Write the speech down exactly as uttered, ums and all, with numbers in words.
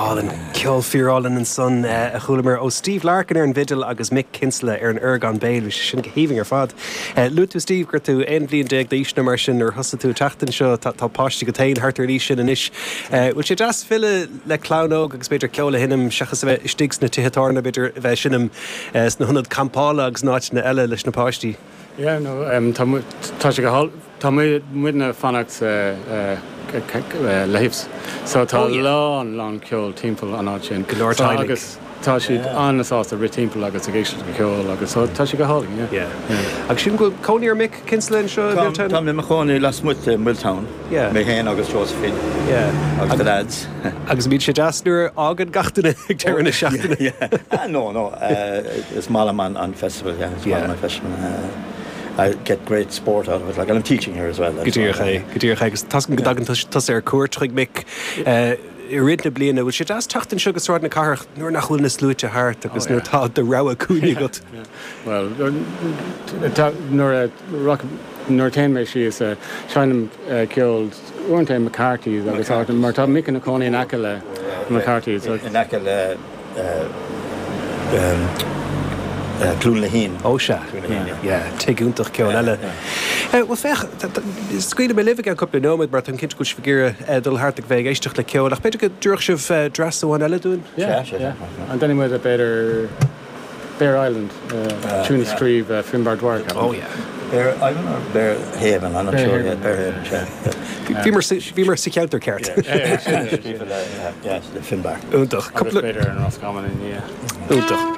hálainn ceol fíorálainn ansan a chualamar ó Steve Larkin ar an bhfidil agus Mick Kinsella ar an orgán béil sin go haoibhinn ar fad. Luaigh tú Steve gur tú aon bhliain déag d'aois nó mar sin nuair thosaigh tú teacht anseo tá páistí agat féin thart ar an aois sin anois. Bhfuil sé deas filleadh le clann óg agus b'fhéidir ceol a sheinm seachas a bheith istigh sna tithe tábhairne b'fhéidir a bheith ag seinm sna hionaid campála agus in áiteanna eile leis na páistí. Yeah, no, um, tá tá sé go tá muidne fanacht sa Leifs. So tá lán lán ceol timpeall an áit sin. Go leor So, agus tá siad an-sásta rith timpeall agus ag éisteacht le ceol agus so tá sé go hálainn. Yeah. Agus sin go cónaí ar Mick Kinsella anseo Milltown? Tá mé i mo chónaí lasmuigh de Milltown. Yeah. Mé féin agus Josephine. Yeah. Agus the lads. Agus bíonn sé deas nuair a fhágann gach duine ag deireadh na seachtaine. Yeah. Ah, no, no. Uh, is maith liom an, an festival, yeah. Is Yeah. maith liom an festival. Uh, I get great sport out of it. Like, and I'm teaching here as well. Go díreach é, go díreach é, agus tá go dtagann tusa ar cuairt chuig Mick i rith na bliana, bhfuil sé deas teacht anseo go Sráid na Cathrach nuair nach bhfuil na sluaite thart agus nuair tá do rogha cúinne agat. Well, nuair nuair téann mé síos seinnim ceol uaireanta McCarthy's agus áit mar tá Mick ina chónaí in aice le McCarthy's. In aice le uh, um, uh, Clún Lehín. Ó sea tigh iontach ceoil eile. Well féach scaoilfidh mé libh cúpla nóiméad mar tá cinnte go bhfuil dul thart ag bheith ag éisteacht le ceol, ach b'fhéidir go dtabharfadh sibh dreas amháin eile dúinn? An déanfaidh muid b'fhéidir Bear Island uh, tune a scríobh uh, Finbar Dwyer. Oh yeah. Bear Island or Bear Haven, I'm not Bear sure. Haven. Yeah, Bear Haven, yeah. Bhí mar sa cheantar ceart. Yeah, yeah, the Finbar. Iontach Agus b'fhéidir an Roscommon in yeah. Iontach.